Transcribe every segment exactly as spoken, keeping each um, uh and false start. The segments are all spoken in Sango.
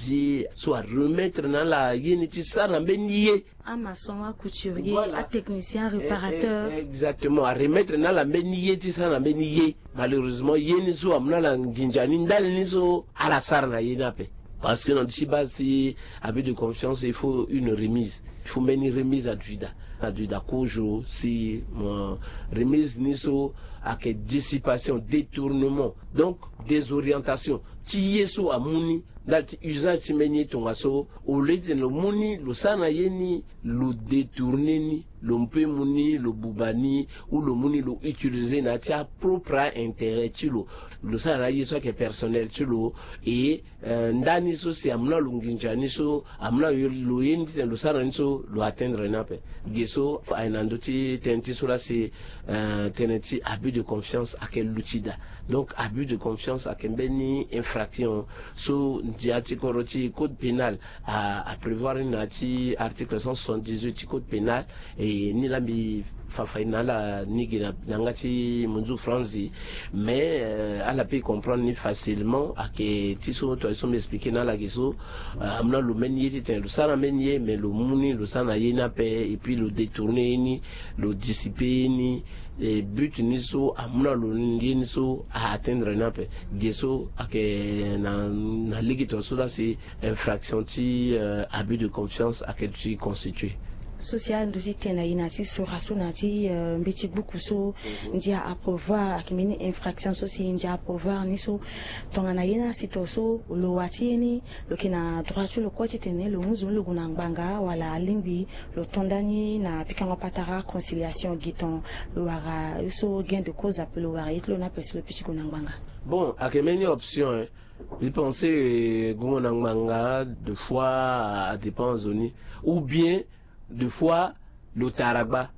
ti so aremettre na ala ye ni ti sara na mbeni ye. Amaçon, acouturier, voilà, atechnicien, réparateur. Exactement, aremettre na ala mbeni ye ti sara na mbeni ye. Malheureusement ye ni so amu na ala nginza ni ndali ni so ala sara na ye ni ape. Parce que na ndö ti base ti abus de confiance, il faut une remise, il faut mbeni remise à duda, à duda kozo si mo remise ni so ayeke dissipation, détournement, donc désorientation ti ye so amu ni ndali ti usage ti mbeni ye tongaso. Au lieu ti tene lo mu ni lo sara na ye ni, lo détourner ni, lo peut mu ni lo buba ni, ou lo mu ni lo utiliser na ya ti apropre intérêt ti lo. Lo sara na ye so ayeke personnel ti lo. Et ndani so si amu na lo nginza ni so amu na lo ye ni ti tene lo sara ni so lo atteindre ni ape. Ge so aye na ndö ti tënë ti so laa si tënë ti abus de confiance ayeke luti daa. Donc abus de confiance ayeke mbeni infraction so ndia ti kodro ti code pénal aprévoir ni na ya ti article cent soixante-dix-huit ti code pénal. E ni laa mbi fa faille na ala ni gi na yanga ti munzu franzi. Mais ala peut comprendre ni facilement. Ayeke ti so tongaso mbi expliquer na ala gi so amu na lo mbeni ye ti tene lo sara mbeni ye, mais lo mu ni lo sara na ye ni ape, et puis lo détourner ye ni, lo dissiper ye ni. E but ni so amu na lo ye ni so a atteindre ni ape. Ge so ayeke na lege tongaso laa si infraction ti abus de confiance ayeke ti constituer. So si ala ndö ti tene na e na ya ti sora so na ya ti mbeti gbuku so ndia aprévoir ayeke mbeni infraction so si ndia aprévoir ni so, tongana ye ni asi tongaso lo wa ti ye ni, lo yeke na droit ti lo kue ti tene lo mu zo ni lo gue na ngbanga wala alingbi lo to ndani na pikango patara conciliation? Gi ton lo wara ye so gain de cause ape, lo wara ye ti lo ni ape si lo peut ti gue na ngbanga. Bon, ayeke mbeni option. Mbi pense gongo na ngbanga de fois adépend zo ni, ou bien de fois lo tara gba,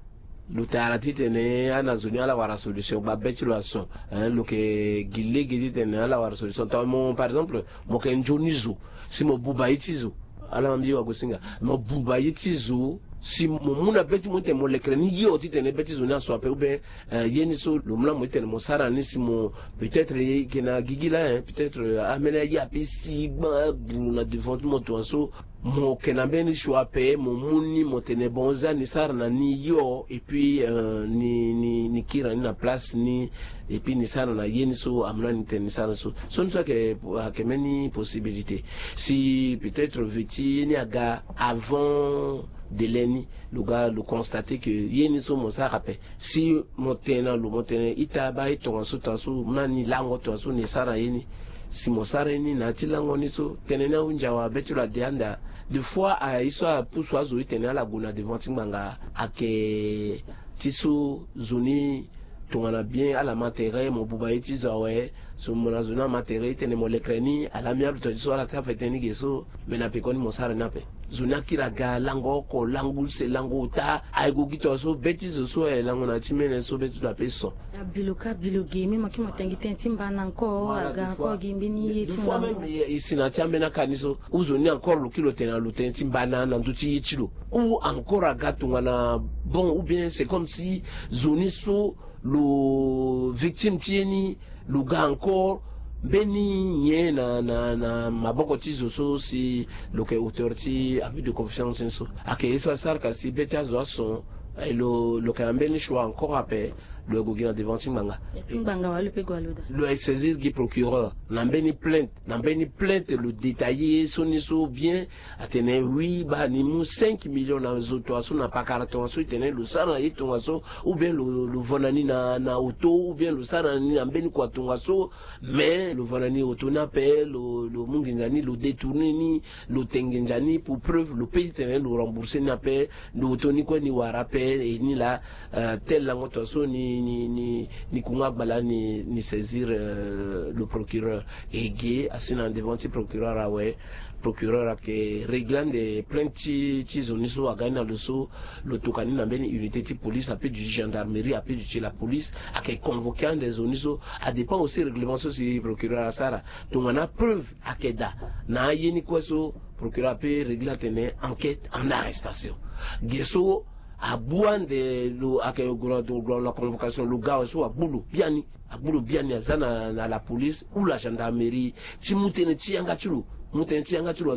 lo tara titene ana zo ni ala wara solution gba be ti lo ason. Lo yeke gi lege titene ala wara solution. Tongana mo par exemple mo yeke nzoni zo si mo buba ye ti zo, ala ma mbi wagosinga, mo buba ye ti zo si mo mu na be ti mo titene mo lekere ni hio titene be ti zo ni aso ape, ou bien ye ni so lo mu na mo titene mo sara ni si mo peut-être ye yeke na gigi laa, peut-être ameni aye ape si gba guru na devant ti mo tongaso. Mo yeke na mbeni choix ape, mo mu ni mo tene bon, za ni sara na ni hio, et puis ni kiri na ni na place ni, et puis ni sara na ye ni so amu na ni tene ni sara ni so. So ni so ayeke mbeni possibilité. Si peut-être veti ye ni aga avant délai ni, lo ga lo constater que ye ni so mo sara ape. Si mo tene na lo, mo tene ita baa ye tongaso tongaso mu na ni lango tongaso ni sara ye ni. Si mo sara ye ni na ya ti lango ni so tënë ni ahunzi awe, be ti lo ade anda. De fois aye so apusu azo titene ala gue na devant ti ngbanga. Ayeke ti so zo ni tongana bien ala ma tere mo buba ye ti zo awe. So mo na zo ni ama tere titene mo lekere ni à l'amiable, tongaso ala ti afa tënë ni ge so. Me na pekoni mo sara ni ape. Zo ni akiri aga lango oko, lango use, lango ota. Aye gue gi tongaso be ti zo so aye lango na ya ti mene so be ti zo ape so. Abi lo ka, abi lo ge, me mo yeke mo tene gi tënë ti mbana encore, aga encore gi mbeni ye ti ngangu. E si na ya ti ambeni aka ni so ou zo ni encore lo kiri lo tene na lo tënë ti mbana na ndö ti ye ti lo, ou encore aga tongana bon, ou bien c'est comme si zo ni so lo victime ti ye ni, lo ga encore mbeni nyen na na na maboko ti zo so si lo yeke auteur ti abus de confiance ni so. Ayeke ye so asara ka si be ti azo ason. E lo lo yeke na mbeni choix encore ape. Lo gue gi na devant ti ngbanga. Ngbanga wala lo peut gue na lo daa. Lo yeke saisir gi procureur na mbeni plainte, na mbeni plainte lo détailler ye so ni so bien. Atene oui, baa ni mu cinq millions na zo tongaso, na pakara tongaso, e tene lo sara na ye tongaso, ou bien lo lo vo na ni na na auto, ou bien lo sara na ni na mbeni kua tongaso. Mais lo vo na ni auto ni ape, lo lo mu nginza ni, lo détourner ni, lo te nginza ni pour preuve, lo peut ti tene lo rembourser ni ape. Lo auto ni kue ni wara ape. E ni laa tel lango tongaso ni ni ni ni kunga gbala ni ni saisir le procureur. E ge asi na devant ti procureur awe. Procureur ayeke régler ande plainte ti ti zo ni so aga ni na lo so. Lo toka ni na mbeni unité ti police, ape duti gendarmerie, ape duti la police. Ayeke convoquer ande zo ni so. Adépend aussi règlement so si procureur asara. Tongana preuve ayeke daa na aye ni kue so, procureur ape régler atene enquête en arrestation. Ge so abu ande lo ayeke gue na convocation, lo ga awe so agbu lo biani. Agbu lo biani aza na na la police ou la gendarmerie ti mu tënë ti yanga ti lo. Mu tënë ti yanga ti lo.